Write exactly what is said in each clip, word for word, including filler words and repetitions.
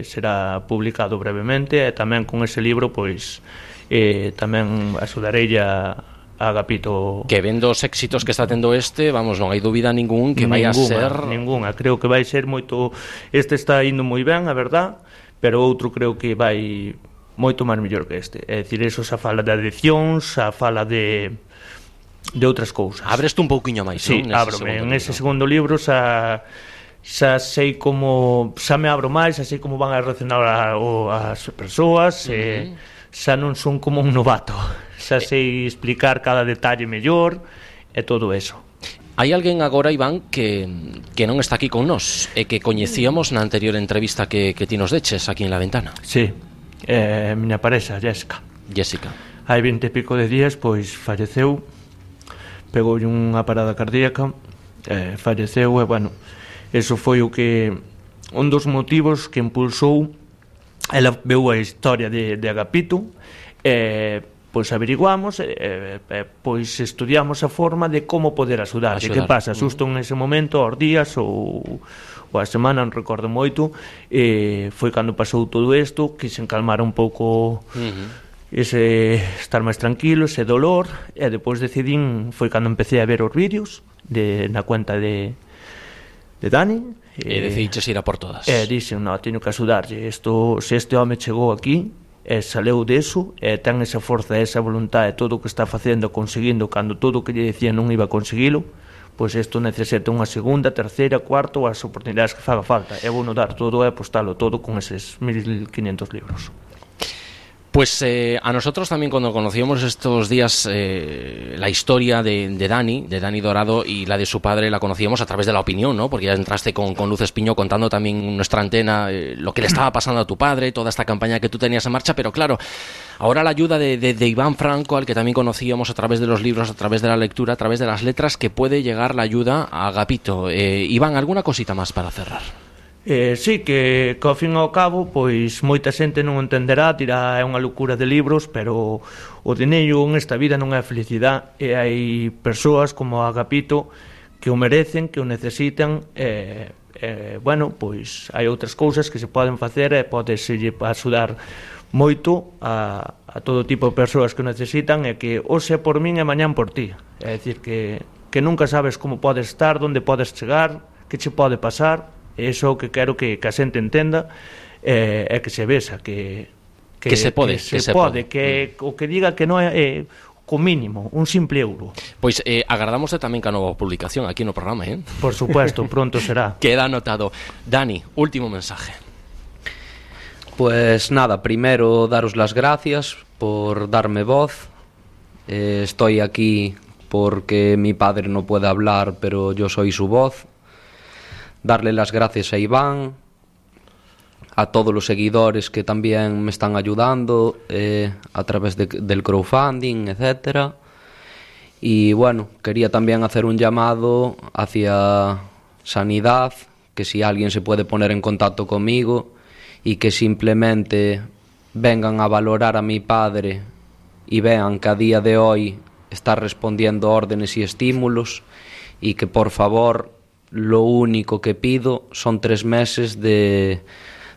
será publicado brevemente, e tamén con ese libro pois eh, tamén axudarei a a Agapito. Que vendo os éxitos que está tendo este, vamos, non hai dúbida ningún que vai a ser... Ninguna, creo que vai ser moito... Este está indo moi ben, a verdad, pero outro creo que vai moito máis mellor que este. É dicir, eso xa fala de adiccións, xa fala de de outras cousas. Abreste un pouquiño máis, sí, non? Abro, en ese segundo libro xa xa sei como... xa me abro máis, xa sei como van a reaccionar a, o, as persoas, uh-huh. e xa non son como un novato. Xa sei explicar cada detalle mellor e todo eso. Hai alguén agora, Iván, que, que non está aquí con nós e que coñecíamos na anterior entrevista que, que ti nos deches aquí en La Ventana. Sí, eh, miña parexa, Jessica. Jessica. Hai vinte e pico de días, pois falleceu, pegou unha parada cardíaca, eh, falleceu e, bueno, eso foi o que... un dos motivos que impulsou. Ela veu a historia de, de Agapito e... Eh, pois averiguamos, eh, eh, pois estudiamos a forma de como poder axudar. Que pasa, xusto en ese momento, aos días ou, ou a semana, non recordo moito, eh, foi cando pasou todo isto, que se encalmara un pouco uh-huh. ese estar máis tranquilo, ese dolor, e depois decidín, foi cando empecé a ver os vídeos de, na cuenta de, de Dani. E eh, decidiches ir a por todas. E dixen, no, teño que axudarlle, isto, se este home chegou aquí, e saleu deso, e ten esa forza, esa voluntade, todo o que está facendo, conseguindo, cando todo o que lle decía non iba a conseguilo, pois isto necesita unha segunda, terceira, cuarta ou as oportunidades que faga falta. É bueno dar todo e apostalo todo con eses mil quinientos libros. Pues eh, a nosotros también, cuando conocíamos estos días eh, la historia de, de Dani, de Dani Dorado, y la de su padre la conocíamos a través de La Opinión, ¿no? Porque ya entraste con, con Luz Espiño contando también en nuestra antena eh, lo que le estaba pasando a tu padre, toda esta campaña que tú tenías en marcha, pero claro, ahora la ayuda de, de, de Iván Franco, al que también conocíamos a través de los libros, a través de la lectura, a través de las letras, que puede llegar la ayuda a Agapito. Eh, Iván, ¿alguna cosita más para cerrar? Eh, sí, que, que ao fin e ao cabo pois moita xente non entenderá, dirá é unha locura de libros, pero o dineiro en esta vida non é felicidade, e hai persoas como Agapito que o merecen, que o necesitan, e, e bueno, pois hai outras cousas que se poden facer e podeselle axudar moito a, a todo tipo de persoas que o necesitan, e que hoxe é por min e mañán por ti. É dicir, que, que nunca sabes como podes estar, onde podes chegar, que che pode pasar. Eso que quero que, que a xente entenda é eh, que se vexa que, que, que se pode, que se, que se pode, pode. Que mm. o que diga que non é eh, co mínimo, un simple euro. Pois eh, agardamos tamén ca nova publicación aquí no programa, eh? Por supuesto, pronto será. Queda anotado. Dani, último mensaje. Pues nada, primero daros las gracias por darme voz. Eh, estoy aquí porque mi padre no puede hablar, pero yo soy su voz. Darle las gracias a Iván, a todos los seguidores que también me están ayudando eh, a través de, del crowdfunding, etcétera. Y bueno, quería también hacer un llamado hacia Sanidad, que si alguien se puede poner en contacto conmigo y que simplemente vengan a valorar a mi padre y vean que a día de hoy está respondiendo a órdenes y estímulos, y que por favor... Lo único que pido son tres meses de,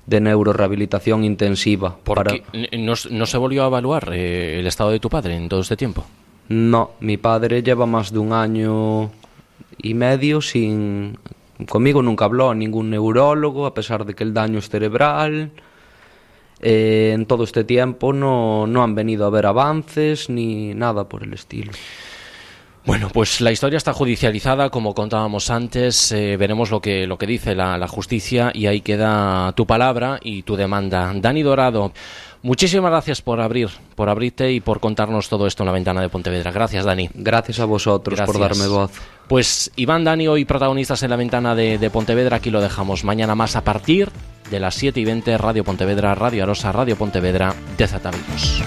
de neurorehabilitación intensiva. ¿Porque para... no, no se volvió a evaluar eh, el estado de tu padre en todo este tiempo? No, mi padre lleva más de un año y medio sin... Conmigo nunca habló ningún neurólogo, a pesar de que el daño es cerebral. Eh, en todo este tiempo no, no han venido a ver avances ni nada por el estilo. Bueno, pues la historia está judicializada, como contábamos antes, eh, veremos lo que, lo que dice la, la justicia, y ahí queda tu palabra y tu demanda. Dani Dorado, muchísimas gracias por abrir, por abrirte y por contarnos todo esto en La Ventana de Pontevedra. Gracias, Dani. Gracias a vosotros. Gracias por darme voz. Pues Iván, Dani, hoy protagonistas en La Ventana de, de Pontevedra, aquí lo dejamos. Mañana más a partir de las siete y veinte, Radio Pontevedra, Radio Arosa, Radio Pontevedra, de Zatavidos.